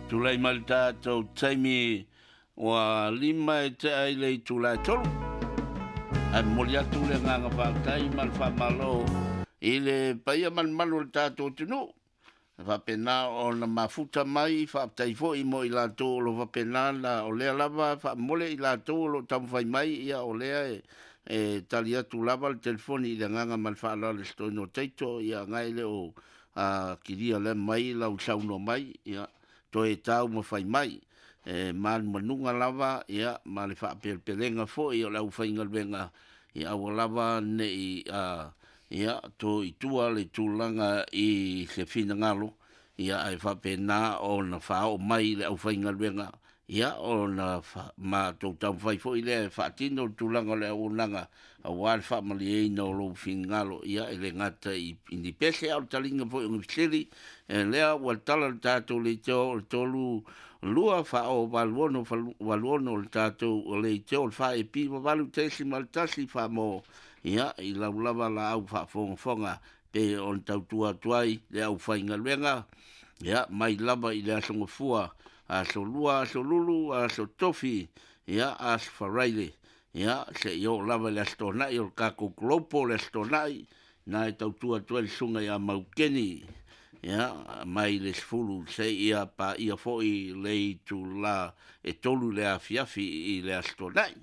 Tulai mai le tatou taimi ua 5 e tea i le itula e 3. Ae momoli atu le agaga faafetai ma le faamalo i le paia ma le mamalu o le tatou atunuu e faapena ona mafuta mai. Faafetai foi mo i latou o lo o faapena ona, o lea lava faamomole i latou o lo o taumafai mai, ia o lea e tali atu lava le telefoni i le agaga ma le faaaloalo i se toeaina o Taito, ia agai le o kilia lea mai lau saunoa mai, ia toe taumafai mai. E manumanuga lava ia ma le faapelepelega foi o le aufaigaluega, ia aua lava nei ia to i tua le tulaga i se finagalo, ia ae faapena ona faaoo mai i le aufaigaluega, ia ona matou taumafai foi lea e faatino le tulaga o le auaunaga aua le faamalieina o lou finagalo, ia e le gata i ni pese a o le taliga foi o ni fesili. E lea ua tala le tatou leitio o le 3 2 4 8 6 8 6 o le tatou leitio o le 4AP 8.1 faamo, ia i lau lava laau faafogafoga pe on tautua atu ai le aufaigaluega, ia mai lava i le aso Gafua, aso Lua, aso Lulu, aso Tofi, ia aso Faraile, ia seia oo lava i le aso Toonai o le tatou Global, le aso Toonai na e tautua atu ai le susuga ia Maukeni, ia mai le 10 seia paia foi le itula e 3 le afiafi i le aso Toonai.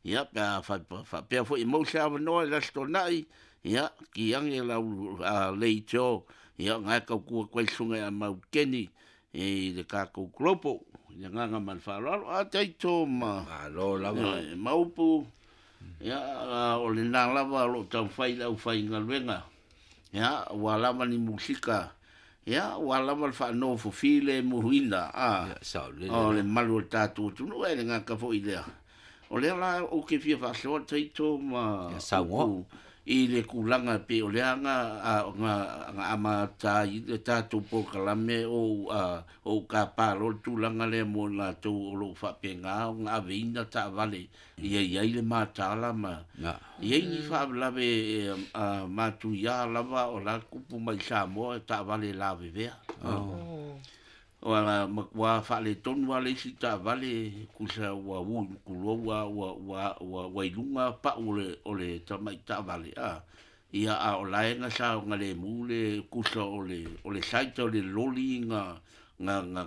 Ia pe a faapea foi e maua se avanoa i le aso Toonai, ia kiage lau leitio, ia na e tautua atu ai le susuga ia Maukeni i le tatou Global i le agaga ma le faaaloalo. A taito ma Malo lava. Maupu, ia o lena lava o lo o taumafai le aufaigaluega, ia ua lava ni musika, ia ua lava le faanofofi le muhuina Ia, saolele o le la. malu o le tatou atunuu, e le gata foi lea. O lea la ou te fia faasoa taito ma Ia, saunoa. upu i le tulaga pe o lea nga amata ai le tatou polokalame o ou kapalo le tulaga lea mo latou o lo o faapena ona aveina taavale ia i ai le matala ma i ai ni faalavelave matuia lava o la tupu mai Samoa e taavale lavevea. O ala matua faaletonu lava le isi taavale kusa ua ui tulou a ua i luga pau o le tamai taavale ia a o lae sa ona lemu le kusa o le site o le loli nga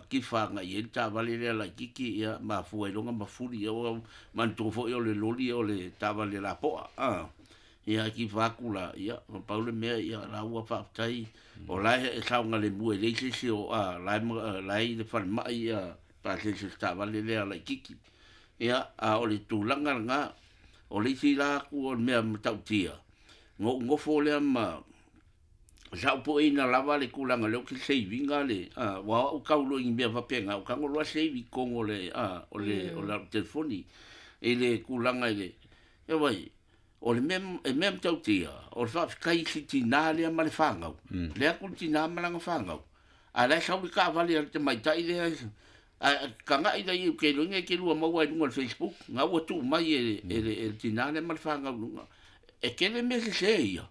kifa nga i ai le taavale lea laitiiti, ia mafua ai loga mafuli, ia ua manatua foi o le loli o le taavale lapoa ia kifa atu la, ia ma pau le mea, ia la ua faafetai o lae e saogalemu e leai se isi o lae i le falemai, ia pasese o le taavale lea laitiiti. Ia a o le tulaga lena o le isi la atu o le mea matautia na ou nofo lea ma saupoeina lava le tulaga lea ou te save ina le ua au tau loa i ni mea faapena o tago loa save i totonu o le o le o le telefoni i le tulaga i le e vai o le mea e mea matautia o le faafetai i si tinā lea ma le fanau lea atu le tinā ma lana fanau a la e sau le taavale a le tamaitai lea a tagai la i ke loinga ke lua maua i luga o le Facebook nga ua tuu mai e le tinā lea ma le fanau luga e kele mea sese ia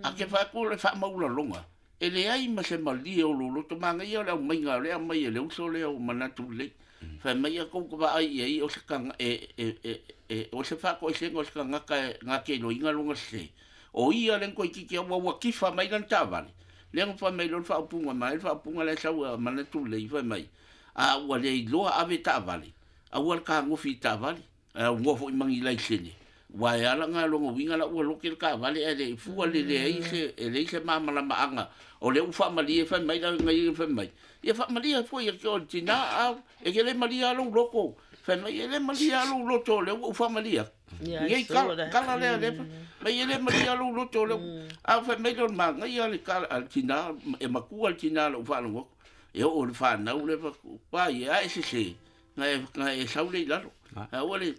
a ke faatu le faamaulaloga e leai ma se malie o loloto manaia o le aumaiga o le aumai e le uso lea o manatu lelei fai mai a kou vaai i ai o se kanga e o se faatoesega o se tagata e nga ke loiga longa sese o ia le koititi ua ua kifa mai lana taavale lea na fai mai loa le faaupuga mai le faaupuga lea sau a manatu lelei fai mai a ua le iloa ave taavale aua le kagofi i taavale a ua foi mangi laisene ua e ala nga longa winga la ua loke le taavale ae le fua le leai se e leai se malamalamaaga o lea ua faamalie fai mai la ngai fai mai ia faamalie foi e o le tina a e ke le malia lou loto fai mai e le malia lou loto o lea ua faamalie Yeah, I Nei saw kala that. kala lea le mai e le malia lou loto o lea a fai mai le manaia le kala a le tina e makua le tina lou faalogo e oo le fanau le pa ia a e sese nga e sau le i lalo a ua le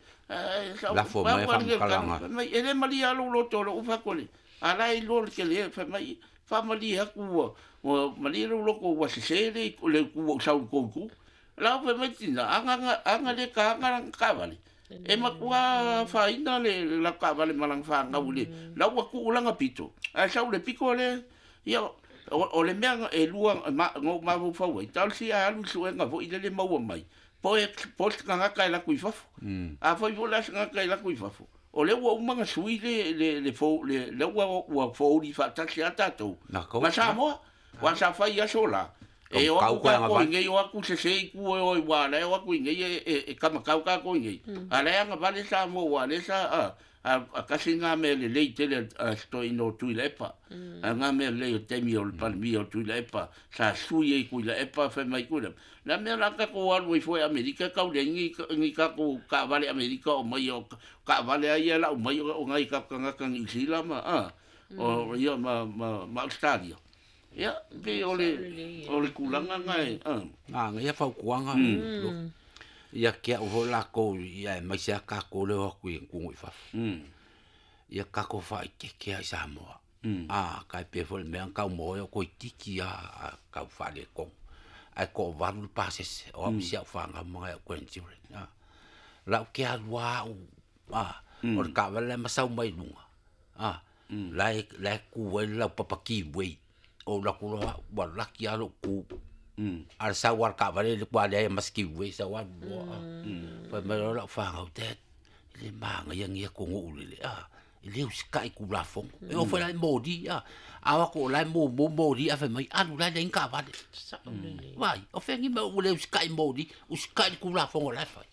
sau Lafo mai faamatalaga. mai e le malia lou loto o lou faakole a la e iloa le tele fai mai faamalie atu ua ua malie lou loto ua sese le le ku ua sau i kou itu la fai mai tina aga aga le ka aga lana taavale e matua faaina le la taavale ma lana fanau i le la ua tuu lana pito ae sau le pito lea ia O le mea e lua no mafaufau ai, talosia e alu i suega foi lele maua mai, po o se tagata e alu atu i fafo. Afai foi la se tagata e alu atu i fafo, o lea ua uma ona sui le ua fouli faatasi a tatou ma Samoa. Ua sa fai aso la, e o atu kākou i nei, o atu sese i tua e o i ua la e o atu i nei e kamatau kākou i nei. A la e agavale Samoa ua lea sa a kasi ngā mea lelei tele a se toeaina o Tuilaepa. A ngā mea lelei o taimi o le Palemia o Tuilaepa, sa sui ai Tuilaepa fai mai Tuilaepa. La mea la tatou alu ai foi i Amerika e tau leai ni tatou taavale Amerika o mai o taavale a ia e lau mai o nai tatou tagata Niu Sila ma o ia ma Ausetalia. Ia, pei o le tulaga na e. Manaia fautuaga. Ia te au foi latou ia aemaise lava tatou lea e o atu i atunuu i fafo. Ia tatou faaeteete lava i Samoa. Tai pei foi o le mea na tau maua ai o toeitiiti lava tau faaletonu. Ae toavalu le pasese o au i si au fanau ma nai au grandchildren. Lau te alu lava au, o le taavale la e masau mai luga, la e tu ai le laupapa give way. Ou alu atu loa au, ua laki lava lou tu. A o le sau lava o le taavale e matua leai ma se give way sau alu loa. Fai mai loa lau fanau, dad, e le manaia lenei atunuu e le usitai i Tulafono. E oo foi la i moli, a o atu o la e mumu moli ae fai mai, alu o la e leai ni taavale. Vaai, o fea ni mea ua le usitai i moli, usitai i le Tulafono o la e fai.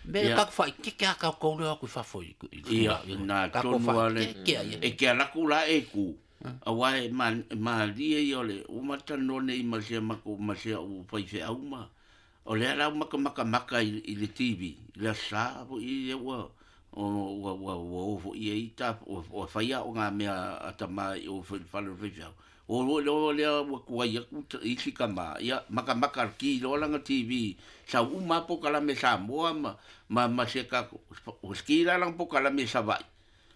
Mea ia tatou faaeteete lava tatou lea e o atu i fafo i Ia, na tatou tonu lava le faaeteete lava ia. E te alu atu la e tu, aua e malie ia o le ua matou talanoa nei ma si a matou ma si au faifeau ma o lea la ua matou matamata i le TV i le Aso Sa foi lea ua ua o foi i ai ua fai aoga mea a tama i o foi i le fale o le faifeau. O foi loa lea ua tuai atu isi tama, ia matamata ki loa lana TV, sau uma lava polokalame Samoa ma si a tatou, ua ski la lana polokalame i Savaii,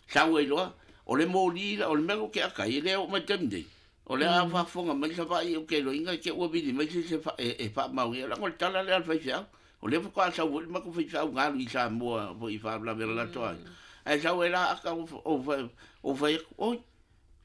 sau ai loa, o le moli, o le mea lea ou te ata ai, e le oo mai i le taimi nei, o lea a faafofoga mai Savaii ou te iloaina i te i ua vili mai se isi e faamaonia, leaga o le tala lea a le faifeau. O lea faatoa sau foi le matou faifeau na alu i Samoa foi i faalavelave a le latou aiga, ae sau ai la ata ou fai atu, oi,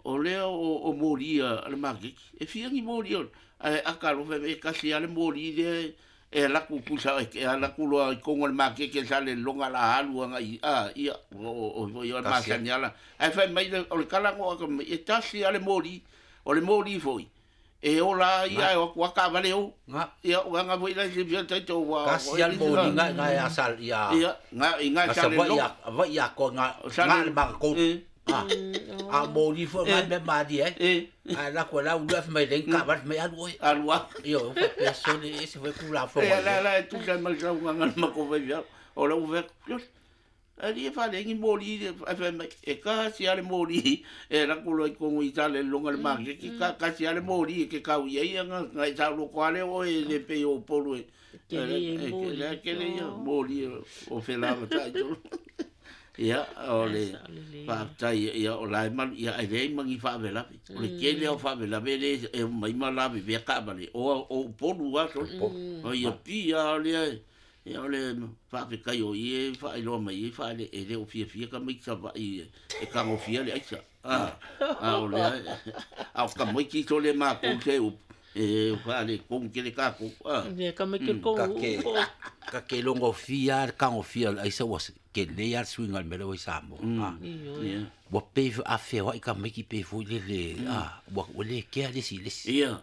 o lea o moli a le maketi, e fia ni moli o, ae ata loa fai mai, e tasi lava le moli lea e alu atu pusa e alu atu loa i totonu o le maketi e Salelologa o le a alu agai, a, ia, o foi o le masani lava la. Ae fai mai, o le tala na oo atu mai, e tasi lava le moli, o le moli foi, e ola ai ia e o atu lava taavale o. Ia, o aga foi la e silafia taito ua Tasi lava le moli na i ina i ia Ia, i ina i Salelologa. Savaii atoa na le magatolu. A moli foi na mea malie ai. Ae alu atu e lau ulu fai mai e leai ni taavale, fai mai alu oe. Alu lava. Ioe, ua faapea sole e ese foi Tulafono. Ia, la la e tusa ai ma le saunoaga a le matou faifeau. O lau fai atu, sioli, alii e faalelei ni moli, ae fai mai, e tasi lava le moli e alu atu loa i totonu i Salelologa i le maketi, tasi lava le moli e te tau i ai ona e saoloto lava lea o oe e le pei o Upolu e tele ia moli o felavasai tonu. Ia, o le faafetai, ia o la e malu, ia ae leai ma ni faalavelave. O le tele lava o faalavelave lea e omai ma lavevea taavale, o Upolu lava sole. O ia pia lava lea, ia o le faafetai o i e faailoa mai ai faale, e le o fiafia tamaiti Savaii e tagofia le aisa. A o lea, a o tamaiti sole matou se upu, e faaletonu tele tatou. Ia tamaiti o le tou Ta te logofia lava le tagofia o le aisa ua tele lava le suiga o le mea lea ua i Samoa. Ua pei a feoai tamaiti pei foi lele ua le kea le isi i le isi. Ia.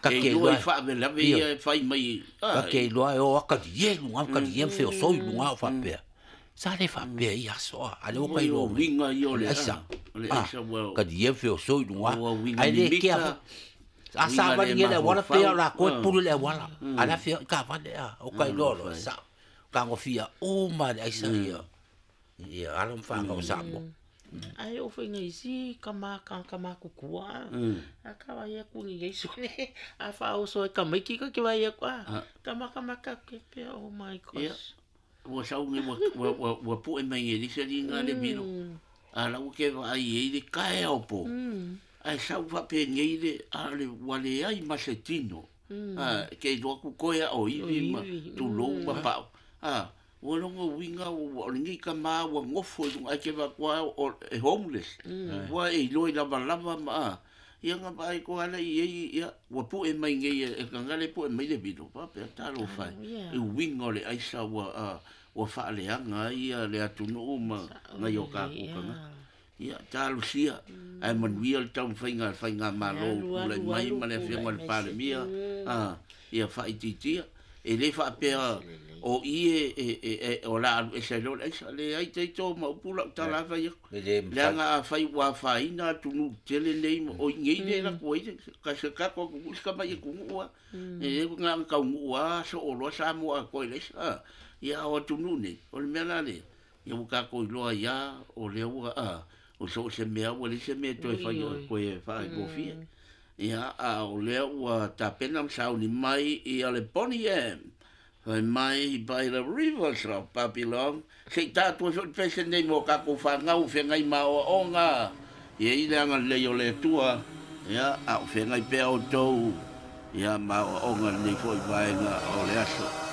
Ta te iloa iloa i faalavelave ia e fai mai. Ta te iloa e o lava talie i luga, talie ma feosoi i luga o faapea. Sa le faapea i aso a lea ua ta iloa mai. Uiga ia o le aisa. O le aisa ua talie ma feosoi i luga. Ua uiga Ae le mimita. kea foi. A savali nei le auala pei lava o latou e pule i le auala. A o le a feoai taavale a, o ta iloa loa e sao. Tagofia uma lava e le aisa ia alo ma fanau a Samoa. Ae oo foi ina isi tama tagata matutua a ta vaai atu i nei sole a faaoso ai tamaiti ta te vaai atu a ta matamata atu ke pea oh my gosh. Ua sau nei ua pu'e mai nei le isi alii na le milo. A la ua ke vaai ai le taeao po. Ae sau faapenei le a le ua leai ma se tino. Ke iloa atu toe a o ivi ma tulou ma pa'u. Ua logo uiga o lenei tama ua nofo i luga ae ke vaai atu lava e homeless. Ua e iloa i lavalava ma Ia ga vaai ko ala i ai ia ua pu'e mai nei e e le pu'e mai le vilo faapea talofa e i uiga o le aisa ua ua faaleaga ai ia le atunuu ma nai o kakou tagata. Ia talosia ae manuia le taumafaiga a le faigamalo ua tulai mai ma le afioga i le Palemia ia faaitiitia. E lē faapea o i e o le a alu ese ai loa le aisa. Leai taito ma upu lau tala lava fai atu. Leaga afai ua afaina atunuu tetele nei o i nei lea e alu atu ai se tatou atunuu si tamai atunuu lava. E le na ona taunuu lava soo loa Samoa atoa i le aisa. Ia a o atunuu nei, o le mea la lea, ia ua tatou iloa ai lava o lea ua o so o se mea ua leai se mea e toe fai toe faafaigofie. Ia, a o lea ua tapena ma sauni mai ia le Bonnie M. Fai mai by the rivers of Babylon. Se i ta atu ai foi le pese nei mo tatou fanau o feagai ma aoaoga. Ia i le agalelei o le Atua, ia, a o feagai pea outou ia ma aoaoga i lenei foi vaega o le aso.